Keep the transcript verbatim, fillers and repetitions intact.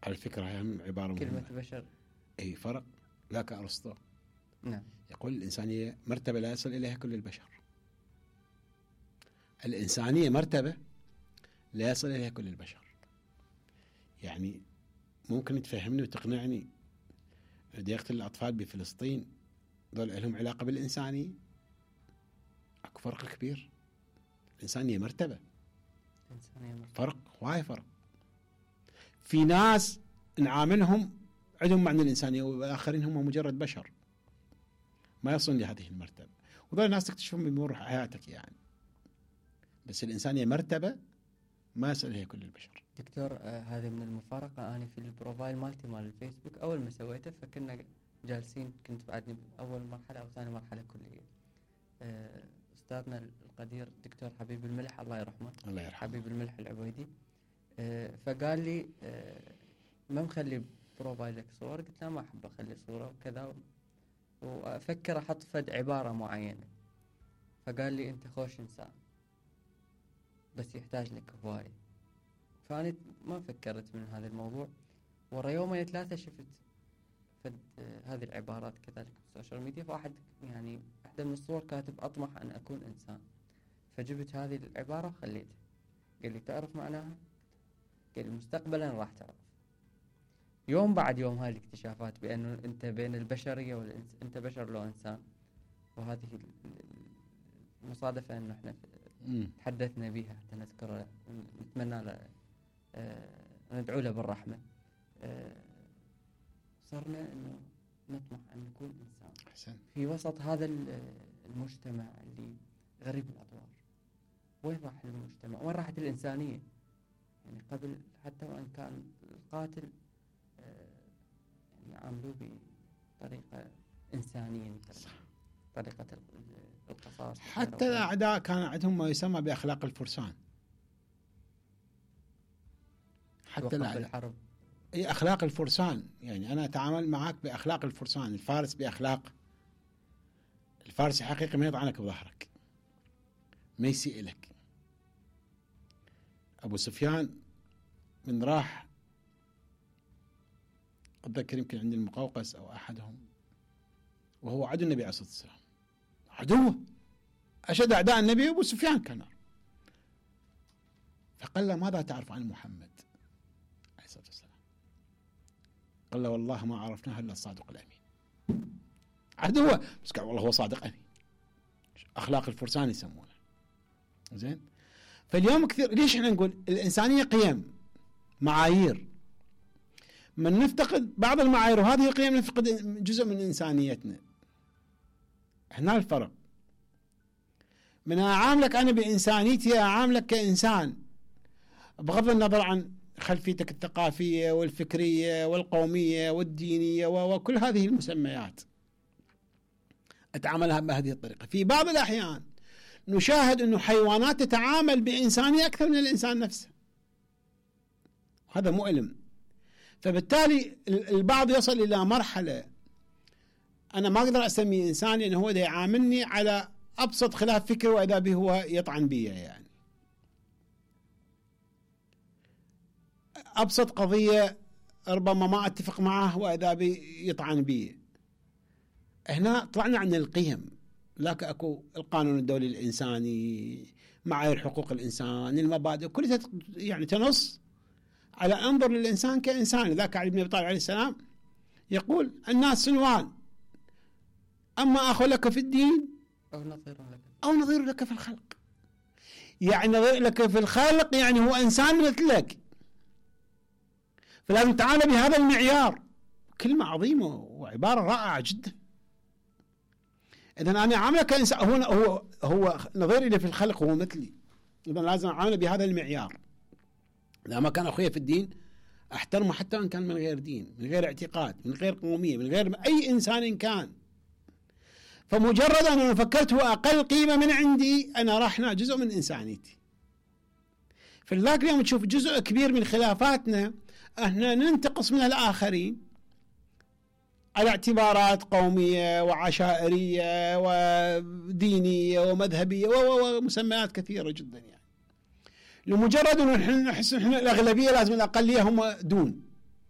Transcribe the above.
على فكرة هي عبارة كلمة مهمة. بشر أي فرق لا كأرسطو. نعم. يقول الإنسانية مرتبة لا يصل إليها كل البشر. الإنسانية مرتبة لا يصل إليها كل البشر. يعني ممكن تفهمني وتقنعني اللي يقتل الأطفال بفلسطين دول لهم علاقة بالإنسانية؟ أكو فرق كبير. الإنسانية مرتبة. إنسانية مرتبة. فرق واي فرق. في ناس نعاملهم عندهم معنى الإنسانية والآخرين هم مجرد بشر ما يصلون لهذه المرتبة، وذول الناس تكتشفهم بمرور حياتك يعني. بس الإنسانية مرتبة ما يصل إليها كل البشر. دكتور آه هذه من المفارقة، أنا في البروفايل مالتي مال الفيسبوك أول ما سويته فكنا جالسين، كنت بعدني أول مرحلة أو ثاني مرحلة كلية. آه أستاذنا القدير دكتور حبيب الملح الله يرحمه، الله يرحمه، حبيب الملح العبيدي، آه فقال لي آه ما مخلي بروفايلك صور؟ قلت له ما أحب أخلي صورة وكذا، وأفكر أحط فد عبارة معينة. فقال لي أنت خوش إنسان بس يحتاج لك هواية. فأنا ما فكرت من هذا الموضوع، ورا يومين ثلاثة شفت فد آه هذه العبارات كذلك في السوشيال ميديا، فواحد يعني واحدة من الصور كاتب أطمح أن أكون إنسان، فجبت هذه العبارة وخليتها. قال لي تعرف معناها؟ قال لي مستقبلا راح تعرف. يوم بعد يوم هاي الاكتشافات بأنه أنت بين البشرية والإنس... أنت بشر لو إنسان، وهذه المصادفة أنه إحنا تحدثنا بها حتى نذكر، نتمنى له آه ندعو له بالرحمة. آه صرنا أنه نطمح أن نكون إنسان حسن. في وسط هذا المجتمع اللي غريب الأطوار. وين راح المجتمع؟ وين راحت الإنسانية؟ يعني قبل حتى وإن كان القاتل يعني عاملوه بطريقة إنسانية، طريقة القصاص. حتى الأعداء كان عندهم ما يسمى بأخلاق الفرسان. حتى الحرب أي أخلاق الفرسان، يعني أنا أتعامل معك بأخلاق الفرسان. الفارس بأخلاق الفارس حقيقي ما يضعنك بظهرك، ما يسيء لك. أبو سفيان من راح أتذكر يمكن عند المقوقس أو أحدهم وهو عدو النبي عليه الصلاة والسلام، عدوه أشد أعداء النبي أبو سفيان كان. فقال له ماذا تعرف عن محمد عليه الصلاة والسلام؟ قال له والله ما عرفناه إلا الصادق الأمين. عدوه بس قال والله هو صادق أمين. أخلاق الفرسان يسمونه. زين. فاليوم كثير ليش احنا نقول الإنسانية قيم معايير، من نفتقد بعض المعايير وهذه القيم نفقد جزء من إنسانيتنا. هنا الفرق، من أعاملك أنا بإنسانيتي أعاملك كإنسان بغض النظر عن خلفيتك الثقافية والفكرية والقومية والدينية وكل هذه المسميات، أتعاملها بهذه الطريقة. في بعض الأحيان نشاهد أنه حيوانات تتعامل بإنسانية أكثر من الإنسان نفسه، هذا مؤلم. فبالتالي البعض يصل إلى مرحلة أنا ما أقدر أسميه إنسان لأنه هو ده يعاملني على أبسط خلاف فكري وإذا به هو يطعن بي، يعني أبسط قضية ربما ما أتفق معه وإذا به يطعن بي. هنا طلعنا عن القيم، لكن أكو القانون الدولي الإنساني، معايير حقوق الإنسان، المبادئ كلها يعني تنص على أنظر للإنسان كإنسان. ذاك علي بن أبي طالب عليه السلام يقول الناس سنوان، أما أخو لك في الدين أو نظير لك أو نظير لك في الخلق. يعني نظير لك في الخلق يعني هو إنسان مثلك، فلازم تعامل بهذا المعيار. كلمة عظيمة وعبارة رائعة جدا. إذن أنا عامله كإنسان، هو هو هو نظير لي في الخلق، هو مثلي، إذن لازم أعامله بهذا المعيار. إذا ما كان أخويا في الدين أحترمه حتى وإن كان من غير دين، من غير اعتقاد، من غير قومية، من غير أي إنسان كان. فمجرد أن أنا فكرت هو أقل قيمة من عندي، أنا راحنا جزء من إنسانيتي. فلذلك اليوم تشوف جزء كبير من خلافاتنا احنا ننتقص من الآخرين على اعتبارات قومية وعشائرية ودينية ومذهبية ومسميات كثيرة جدا، يعني لمجرد أن نحن نحس أن الأغلبية لازم الأقلية هم دون.